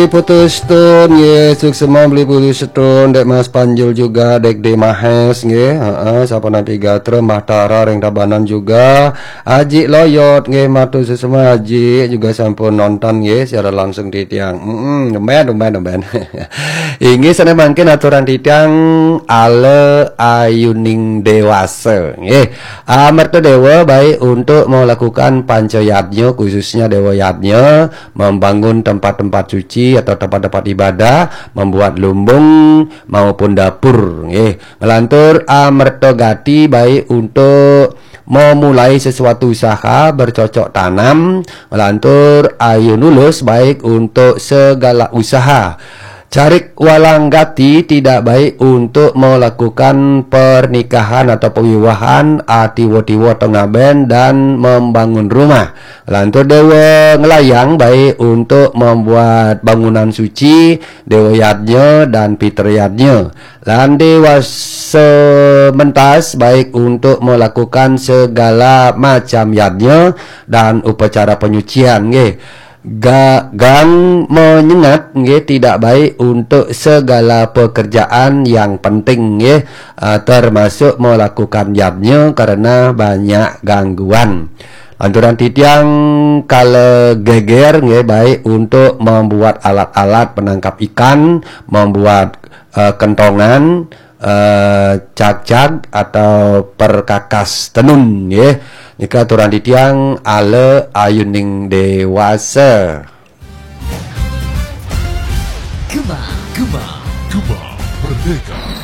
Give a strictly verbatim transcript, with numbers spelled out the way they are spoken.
Putus Tun nggih, suksma Beli Putus Tun, Dek Mas Panjul juga, Dek De Mahes nggih. Heeh, sapunapi gatra Mbah Tara ring Tabanan juga. Aji Loyot nggih, matur suksma Aji juga sampun nonton nggih siaran langsung titiang. Heeh, tumben, tumben, tumben. Inggih sané mangkin aturan titiang ala ayuning dewasa nggih. Amerta dewa baik untuk melakukan panca yadnya, khususnya dewa yadnya, membangun tempat-tempat suci atau tempat-tempat ibadah, membuat lumbung maupun dapur nggih. Ngelantur amerta gati baik untuk memulai sesuatu usaha bercocok tanam, ngelantur ayunulus baik untuk segala usaha. Carik walang gati tidak baik untuk melakukan pernikahan atau pewiwahan, atiwa-tiwa tengaben dan membangun rumah. Lantur dewa ngelayang baik untuk membuat bangunan suci, dewa yadnya dan pitra yadnya. Lan dewa sementas baik untuk melakukan segala macam yadnya dan upacara penyucian nggih. Ga-, gang menyengat nggih tidak baik untuk segala pekerjaan yang penting nggih, ah, termasuk melakukan yadnya karena banyak gangguan. Lanturan titiang kala geger nggih baik untuk membuat alat-alat penangkap ikan, membuat, eh, kentongan, eh, cagcag atau perkakas tenun nggih. Nika aturan titiang ala ayuning dewasa. Gema, Gema, Gema Merdeka.